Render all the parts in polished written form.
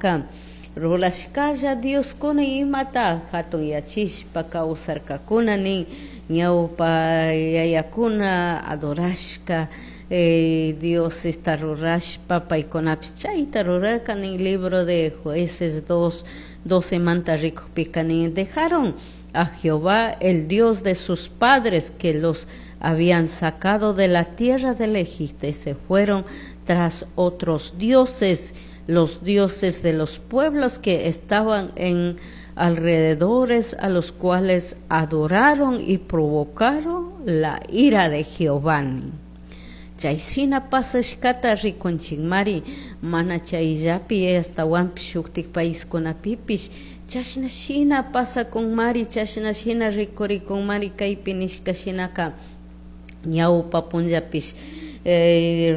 Paicunaca rurashcalla dioscuna imata jatunyachishpa causarcacuna nin ñaupa yayacuna adorashca diosesta rurashpa paicunapish chayta rurarca nin. Libro de Jueces 2:12 manta rikukpika nin: dejaron a Jehová, el Dios de sus padres, que los habían sacado de la tierra del Egipto, y se fueron tras otros dioses, los dioses de los pueblos que estaban en alrededores, a los cuales adoraron y provocaron la ira de Jehová. Chay shina pasashkata rikunchikmari. Mana chayllapi, ashtawanpish shuktik paiskunapipish chashna shina pasakunmari, chashna shina rikurikunmari. Kaypi nishka shinaka ñawpa punllapish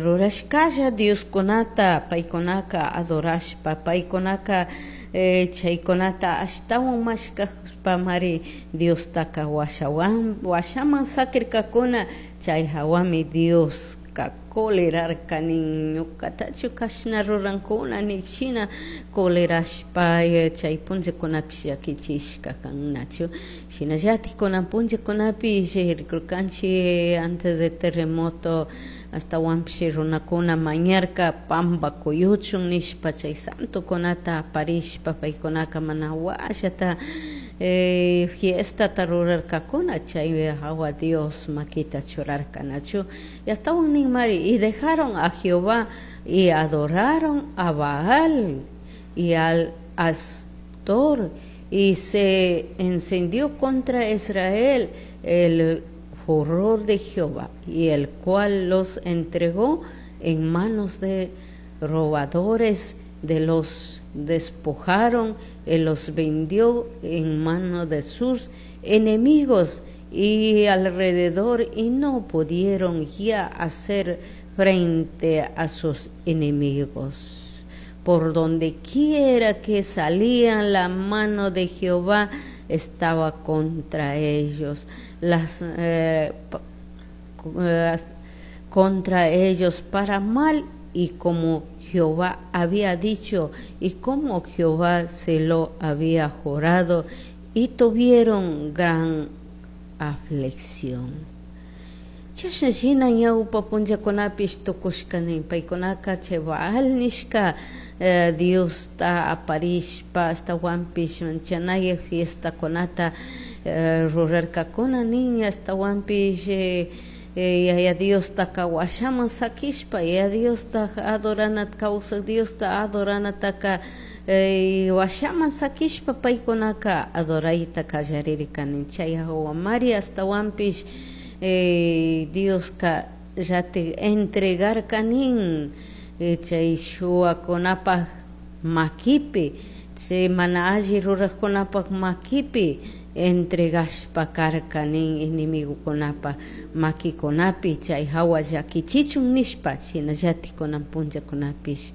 rurashkalla dioskunata paykunaka adorashpa, paykunaka chaykunata ashtawan mashkashpamari Diostaka washawan washaman sakirkakuna. Chay hawami Dioska colerarka nin, ñukatachu kashna rurankuna nik shina colerashpa chay punllakunapish llakichishka kan, nachu? Shinallatik kunan punllakunapish rikurkanchik antes de terremoto ashtawanpish runakuna mañarka pamba kuyuchun nishpa, chay santokunata aparishpa paykunaka mana washata fiestata rurarkakuna. Chay hawa Dios makita churarka, nachu? Y ashtawan ninmari: y dejaron a Jehová y adoraron a Baal y al Astor, y se encendió contra Israel el furor de Jehová, y el cual los entregó en manos de robadores, de los despojaron y los vendió en manos de sus enemigos y alrededor, y no pudieron ya hacer frente a sus enemigos. Por donde quiera que salían, la mano de Jehová estaba contra ellos, contra ellos para mal, y como Jehová había dicho y como Jehová se lo había jurado, y tuvieron gran aflicción. Chashna shina ñawpa punllakunapish tukushka nin. Paykunaka chay Baal nishka Diosta aparishpa ashtawanpish manchanaya fiestakunata rurarkakuna nin. Ashtawanpish Yaya Diostaka washaman sakishpa, Yaya Diosta adoranata, kawsak Diosta adoranataka washaman sakishpa paykunaka adorayta kallarirka nin. Chay hawamari ashtawanpish Dioska llatik entregarka nin chay shuwakunapak makipi, chay mana alli rurajkunapak makipi entregashpa karka nin, enemigokunapa makikunapi, chay hawa llakichichun nishpa. Shinallatik kunan punllakunapish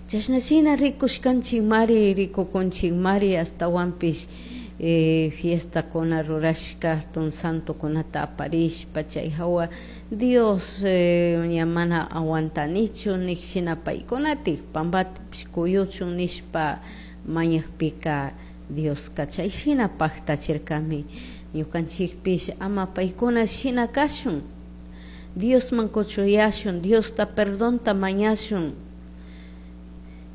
chashna shina rikushkanchikmari, rikukunchikmari. Ashtawanpish fiestakuna rurashka hatun santokunata aparishpa, chay hawa Dios ña mana aguantanichu nik shina paykunatik pambatapish kuyuchun nishpa mañakpika Dioska chay shina paktachirkami. Ñukanchikpish ama paykuna shina kashun, Diosman kuchuyashun, Diosta perdonta mañashun.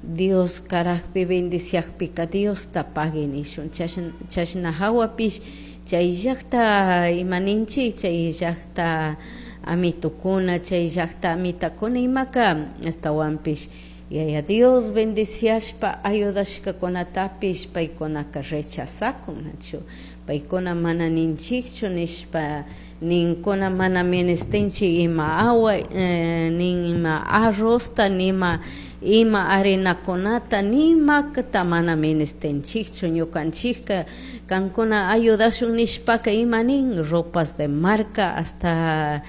Dios karakpi bendiciakpika Diosta pagui nishun. Chashna hawapish chay llakta ima ninchik, chay llakta amitukuna, chay llakta amitakuna imaka ashtawanpish Yaya Dios bendiciashpa ayudashkakunatapish paykunaka rechazakun, nachu? Paykuna mana ninchikchu nishpa ninkuna, mana ministinchik ima agua nin ima arrozta, nima ima harinakunata, nimakta mana ministinchikchu ñukanchikka. Kankuna ayudashun nishpaka ima nin, ropas de marca, hasta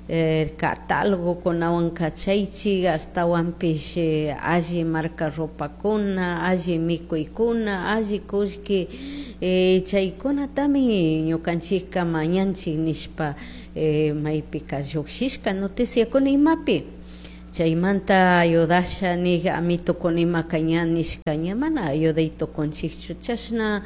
catálogokunawan kachaychik, ashtawanpish alli marca ropakuna, alli mikuykuna, alli kullki, chaykunatami ñukanchikka mañanchik nishpa maypika llukshishka noticiakuna imapi. Chaymanta ayudasha nig amitukunimaka ña nishka ña mana ayuday tukunchikchu chashna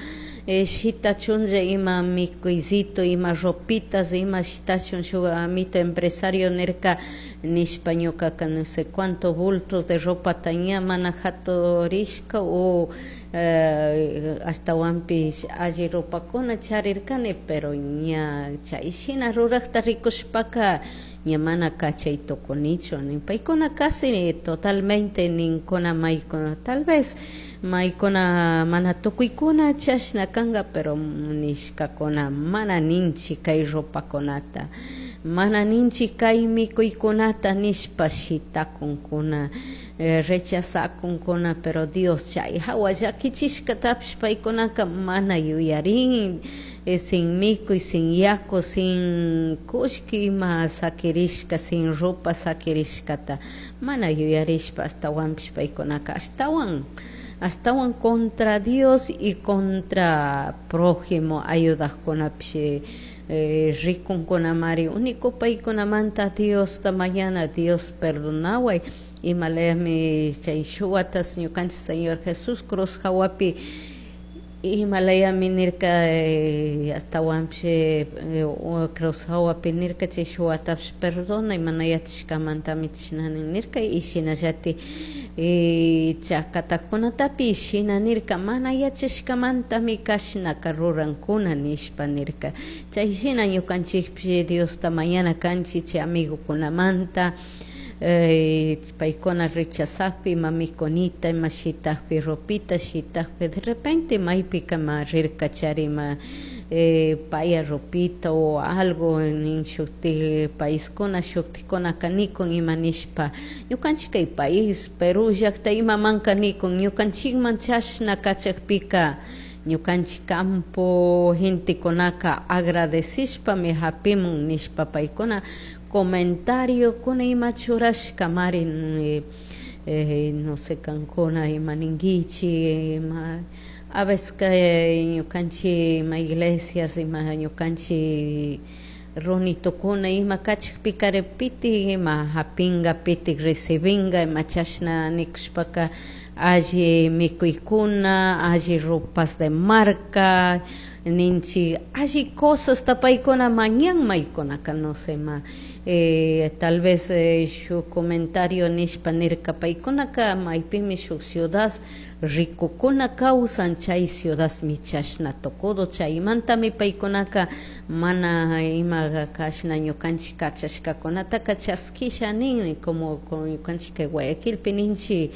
shitachunlla ima mikuycito, ima ropitas, ima shitachun shuk amito empresario nirka nishpa ñukaka no sé cuánto bultos de ropata ña mana jaturishka o ashtawanpish alli ropakuna charirkani, pero ña chay shina rurakta rikushpaka ña mana kachay tukunichu nin. Paykuna casi totalmente ninkuna maykuna tal vez maykuna mana tukuykuna chashna kanka, pero nishkakuna mana ninchik kay ropakunata, mana ninchik kay mikuykunata nishpa shitakunkuna, rechazakunkuna, pero Dios chay hawa llakichishkatapish paykunaka mana yuyarin, sin mikuy, sin yaku, sin kullki ima sakirishka, sin ropa sakirishkata mana yuyarishpa ashtawanpish paykunaka ashtawan ashtawan contra Dios y contra prójimo ayudajkunapish rikunkunamari único paykunamanta Diosta mañana Dios perdonaway imalayami chay shuwatas ñukanchik Señor Jesús cruz hawapi imalayami nirka ashtawanpish cruz hawapi nirka chay shuwatapish perdonay mana yachashkamantami chashnani nirka y shinallatik chakatakunatapish shina nirka mana yachashkamantami kashnaka rurankuna nishpa nirka. Chay shina ñukanchikpish Diosta mañana kanchik chay amigukunamanta paykuna rechazakpi ima mikunita ima shitakpi ropita shitakpi de repente maypika ma rirka chari ima paya ropita o algo nin shuktik paiskuna shuktikkunaka nikun ima nishpa ñukanchik kay país Perú llakta imamanka nikun ñukanchikman chashna kachakpika ñukanchik campo gentekunaka agradecishpami hapimun nishpa paykuna comentario kuna ima churashkamari no sé kankuna ima ninkichik ima a veces ñukanchik ima iglesias ima ñukanchik runitukuna ima kachakpika pitik ima hapinga pitik recibinga ima chashna nikushpaka alli mikuykuna alli ropas de marca ninchik alli cosasta paykuna mañan maykunaka no sé ma tal vez shuk comentario nishpa nirka paykunaka maypimi shuk ciudad ricokuna kawsan chay ciudadmi chashna tukudo chaymantami paykunaka mana ima kashna ñukanchik kachashkakunataka chaskisha nin como ñukanchik kay Guayaquilpi ninchik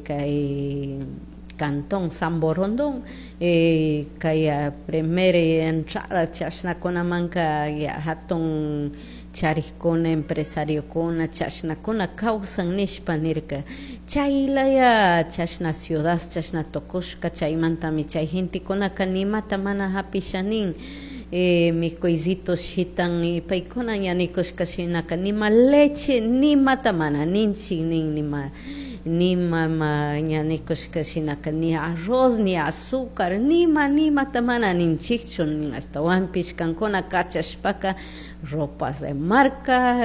kay Cantón San Borondón kay primera entrada chashnakunamanka ya hatun charikkuna empresariokuna chashnakuna kawsan nishpa nirka chaylaya chashna ciudad chashna tukushka chaymantami chay gentekunaka nimata mana hapisha nin mikuycitos shitan paykuna ña nikushka shinaka nima leche nimata mana ninchik nin nima nima ña nikushka shinaka ni arroz ni azúcar nima nimata mana ninchikchu nin ashtawanpish kankuna kachashpaka ropas de marca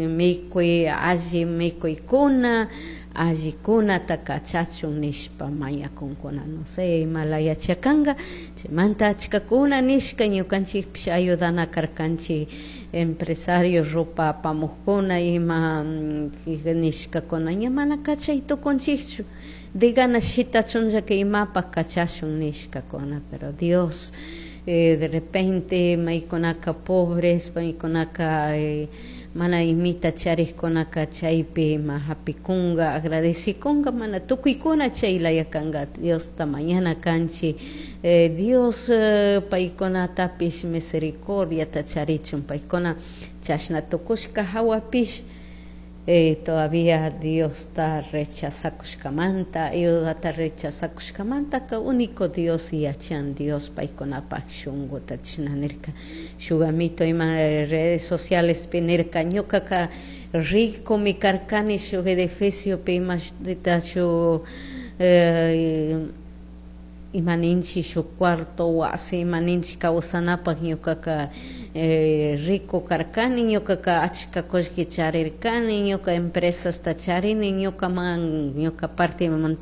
mikuy alli mikuykuna allikunata kachachun nishpa mañakunkuna no sé imalaya chakanka chaymanta achkakuna nishka ñukanchikpish ayudana karkanchik empresario ropa apamukkuna ima nishkakuna ña mana kachay tukunchikchu de ganas shitachunllaka imapak kachashun nishkakuna, pero Dios de repente maykunaka pobres maykunaka mana imita charikkunaka chaypi ima hapikunka agradecikunka mana tukuykuna chaylaya kanka Diosta mañana kanchik Dios paykunatapish misericordiata charichun paykuna chashna tukushka hawapish todavía Diosta rechazakushkamanta ayudata rechazakushkamantaka único Dios yachan Dios paykunapak shunkuta chashna nirka shuk amito ima redes socialespi nirka ñukaka ricomi karkani shuk edificiopi imashutita shuk. Ima ninchik shuk cuarto wasi ima ninchik kawsanapak ñukaka rico karkani, ñukaka achka kullki charirkani, ñuka empresasta charini, ñukaman ñuka partimanta.